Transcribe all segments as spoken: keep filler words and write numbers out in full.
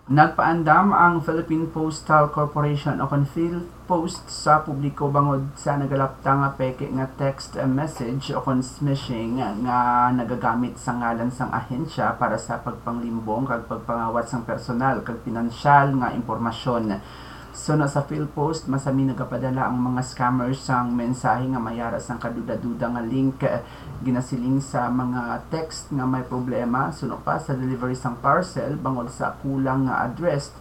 Nagpaandam ang Philippine Postal Corporation o kon PhilPost sa publiko bangod sa nagalapta nga peke nga text message o kon smishing nga nagagamit sa ngalan sang ahensya para sa pagpanglimbong kag pagpangawat sang personal kag pinansyal nga impormasyon. Suno sa PhilPost, masami nagapadala ang mga scammers sang mensahe nga may ara sang kaduda-duda nga link, ginasiling sa mga text nga may problema, suno pa sa delivery sang parcel bangod sa kulang nga address,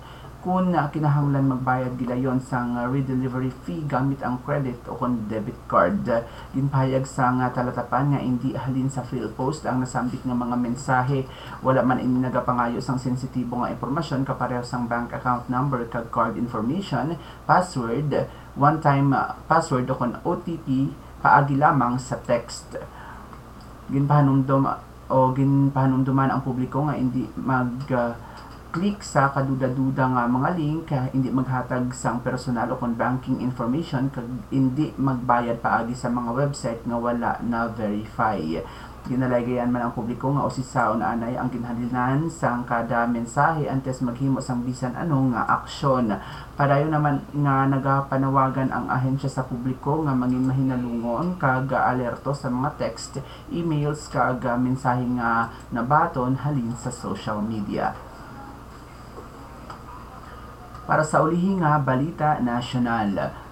kun kinahanglan magbayad gilayon sang redelivery fee gamit ang credit o kon debit card. Ginpahayag sang talatapan nga indi halin sa PhilPost ang nasambit nga mga mensahe. Wala man ini nagapangayo sang sensitibo nga impormasyon kapareho sang bank account number kag card information, password, one-time, uh, password o kon O T P paagi lamang sa text. Ginpahanumdom o ginpahanumduman ang publiko nga indi mag, uh, click sa kaduda-duda nga mga link, uh, indi maghatag sang personal o kon banking information, kag indi magbayad paagi sa mga website nga wala na-verify. Ginalaygayan man ang publiko nga usisaon anay ang ginhalinan sang kada mensahe antes maghimo sang bisan ano nga aksyon. Padayon naman nga nagapanawagan ang ahensya sa publiko nga mangin mahinalungon kag alerto sa mga text, emails, kag mensahe nga nabaton halin sa social media. Para sa ulihi nga balita nasyonal,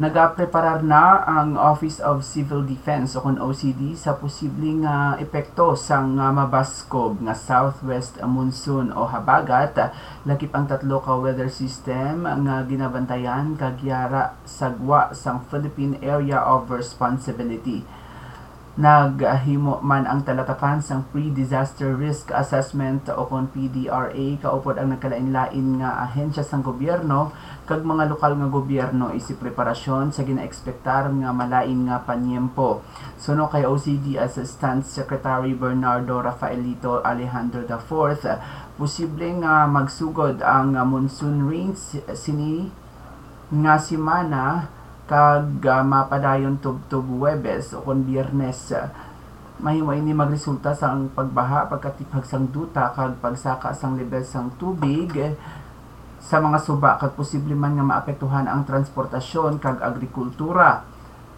nagapreparar na ang Office of Civil Defense o kon O C D sa posible nga epekto sang, ah, mabaskog nga southwest monsoon o habagat, lakip ang tatlo ka weather system nga ginabantayan kag yara sa gwa sang Philippine Area of Responsibility. Naghimo man ang talatapan sang Pre-Disaster Risk Assessment o kon P D R A kaupod ang nagkalain-lain nga ahensya sang gobyerno kag mga lokal nga gobyerno isip preparasyon sa ginaekspektar nga malain nga panyempo. Suno kay O C D Assistant Secretary Bernardo Rafaelito Alejandro the fourth, posible nga magsugod ang monsoon rain si-, sini nga semana kag, ah, mapadayon tubtob Huwebes o kon Biyernes. Mahimo ini magresulta sang pagbaha, pagkatiphag sang duta, kag pagsaka sang lebel sang tubig sa mga suba, kag posible man nga maapektuhan ang transportasyon kag agrikultura.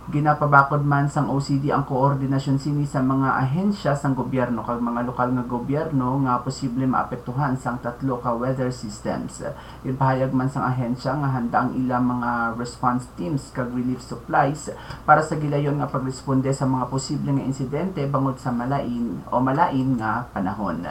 Ginapabakod man sang O C D ang koordinasyon sini sa mga ahensya sang gobyerno kag mga lokal nga gobyerno nga posible maapektuhan sang tatlo ka weather systems. Ginpahayag man sang ahensya nga handa ang ilang mga response teams kag relief supplies para sa gilayon nga pagresponde sa mga posible nga insidente bangod sa malain o malain nga panahon.